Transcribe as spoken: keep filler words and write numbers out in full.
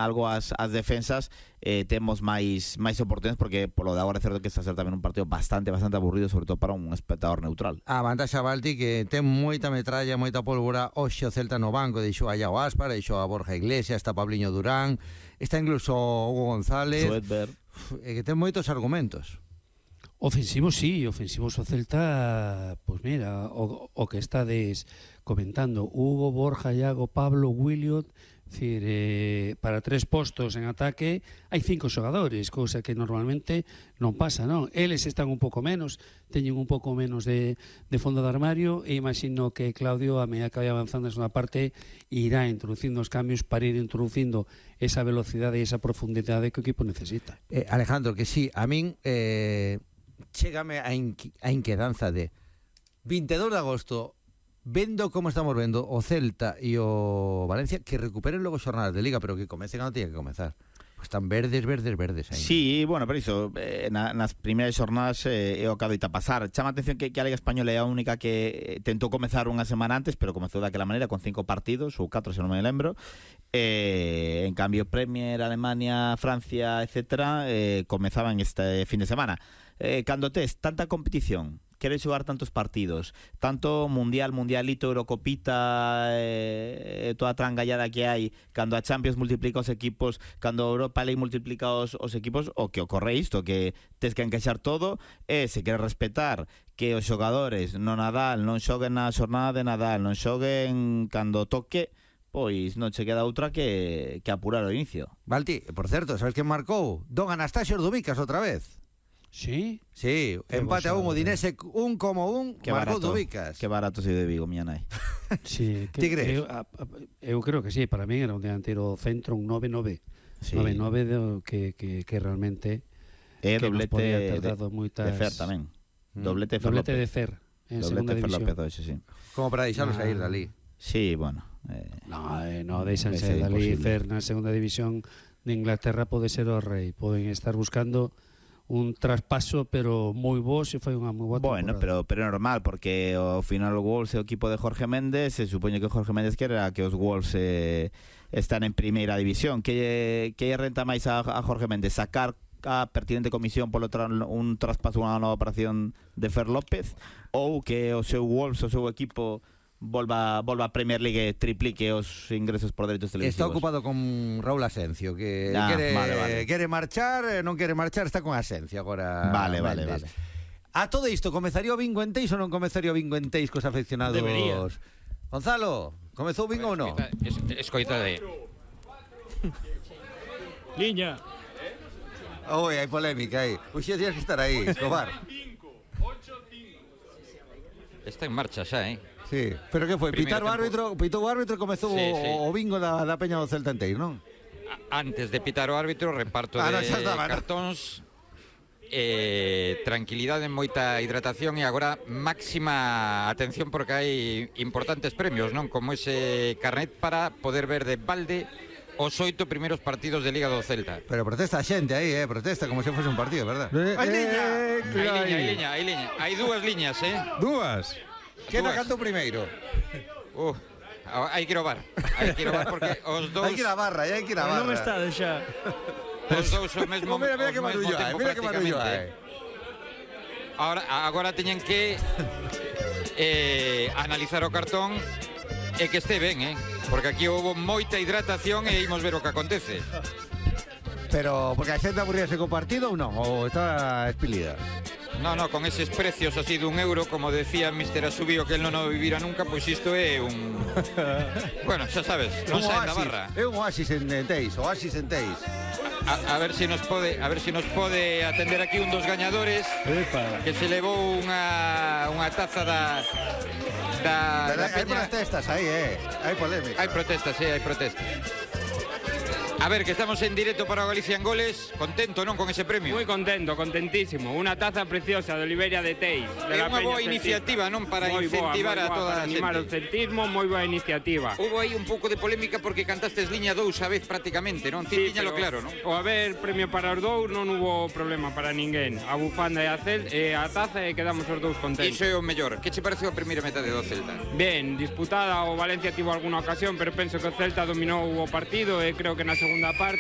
algo as, as defensas, eh, temos máis máis oportunidades, porque polo de agora é certo que está a ser tamén un partido bastante bastante aburrido, sobre todo para un espectador neutral. A vantaxa Balti que ten moita metralla, moita pólvora. Hoxe o Celta no banco deixou a Iago Aspas, deixou a Borja Iglesias, está Pabliño Durán, está incluso Hugo González, e que ten moitos argumentos. Ofensivos, sí, ofensivos o Celta, pois pues mira, o, o que estades comentando, Hugo, Borja, Iago, Pablo, Williot, decir, eh, para tres postos en ataque hai cinco xogadores, cousa que normalmente non pasa, non? Eles están un pouco menos, teñen un pouco menos de, de fondo de armario, e imagino que Claudio, a medida que vai avanzando na segunda parte, irá introducindo os cambios para ir introducindo esa velocidade e esa profundidade que o equipo necesita. Eh, Alejandro, que sí, a min eh, chégame a, inqui, a inquedanza de veintidós de agosto, vendo como estamos vendo o Celta e o Valencia, que recuperen logo xornadas de Liga, pero que comecen a non tiña que comezar. Pues están verdes, verdes, verdes aí. Sí, bueno, pero iso, eh, na, nas primeiras xornadas eh, é o que adoita pasar. Chama a atención que, que a Liga Española é a única que tentou comezar unha semana antes, pero comezou daquela maneira, con cinco partidos, ou catro, se non me lembro. Eh, en cambio, Premier, Alemania, Francia, etcétera, eh, comezaban este fin de semana. Eh, cando tes tanta competición, queres xogar tantos partidos, tanto mundial, mundialito, Eurocopita, eh, toda a trangallada que hai, cando a Champions multiplica os equipos, cando a Europa League multiplica os, os equipos, o que ocorre isto, que tes que encaixar todo, e se queres respetar que os xogadores no Nadal non xoguen na xornada de Nadal, non xoguen cando toque, pois non che queda outra que, que apurar o inicio. Balti, por certo, sabes que marcou? Don Anastasio Dubicas outra vez. Sí? Sí, empate a un, Udinese un como un, que marcou barato, Dubicas. Que barato se de Vigo, miña nai. Sí, que, Ti crees? Eu, a, a, eu creo que sí, para mí era un delantero centro, un nove nove. Sí. nove nove que, que, que realmente É doblete de, moitas... de Fer tamén. Mm. Doblete Fer Doblete López. de Fer en Doblete segunda Fer división. López hoxe, sí. Como para deixarlo Ah. sair dali. Sí, bueno. Eh, No, eh, no, deixanse é dali. imposible. Fer na segunda división de Inglaterra pode ser o rei. Poden estar buscando un traspaso, pero moi bo, se foi unha moi boa Bueno, temporada. pero pero é normal, porque ao final o Wolves é o equipo de Jorge Méndez, se supoñe que Jorge Méndez quere que os Wolves eh, están en primeira división. Que que renta máis a, a Jorge Méndez? Sacar a pertinente comisión polo tra un traspaso, unha nova operación de Fer López, ou que o seu Wolves, o seu equipo volva volva a Premier League e triplique os ingresos por derechos televisivos. Está ocupado con Raúl Asencio, que Ah, quere, vale, vale. quere marchar, non quere marchar, está con Asencio agora. Vale, vale, Méndez. vale. A todo isto, comezaría o bingo en Teis ou non comezaría o bingo en Teis cos afeccionados? Debería. Gonzalo, comezou o bingo ou non? Escoita de... Liña. Oi, hai polémica aí. Uxe, tienes que estar aí, Escobar. Está en marcha xa, eh? Sí, pero que foi? Primeiro Pitar o tempo. árbitro, pitou o árbitro e comezou Sí, o, sí. o bingo da, da Peña do Celta en Teis, non? A- Antes de pitar o árbitro, reparto Ah, no, de xa estaba, no. cartóns, eh, tranquilidade, moita hidratación e agora máxima atención porque hai importantes premios, non? Como ese carnet para poder ver de balde os oito primeiros partidos de Liga do Celta. Pero protesta a xente aí, eh, protesta como se fose un partido, verdad? Hai liña, hai liña, hai liña. Hai dúas liñas, eh? Dúas. Que Dúas. na canto primeiro? Uh, hai que ir ao bar. Hai que ir ao bar porque os dous... Hai que ir a barra, hai que ir a barra. Non me está deixa. Os dous ao mesmo, Oh, mira, mira ao que mesmo barullo hai, tempo mira que barullo prácticamente. hai. Ahora, agora teñen que eh, analizar o cartón e que este ben, eh? Porque aquí houve moita hidratación e imos ver o que acontece. Pero, porque a xente aburríase co partido ou non? Ou está espilida? No, no, con eses precios así dun euro, como decía mister Asubío que él non o vivira nunca, pois isto é un... Bueno, xa sabes, non Un saen da oasis, barra. É un oasis en en Teis, oasis en Teis. A, a ver se nos pode, a ver se nos pode atender aquí un dos gañadores Epa. que se levou unha unha taza da da, da Hai Peña. protestas aí, eh. Hai polémica. Hai protestas, sí, hai protestas. A ver, que estamos en directo para o Galicia en Goles. Contento, non, con ese premio? Muy contento, contentísimo. Una taza preciosa de Oliveria de Teis. De É la unha Peña boa Celtista. iniciativa, non? Para Moi incentivar boa, moi a boa, toda para a animar o xente. celtismo, moi boa iniciativa. Hubo aí un pouco de polémica porque cantastes liña dous a vez prácticamente, non? Ti tiñalo claro, non? O haber premio para os dous non hubo problema para ninguén. A bufanda e a, cel, e a taza e quedamos os dous contentos. Iso é o mellor. Que che pareceu a primeira metade do Celta? Ben, disputada, o Valencia tivo alguna ocasión, pero penso que o Celta dominou o partido e creo que na segunda segunda parte.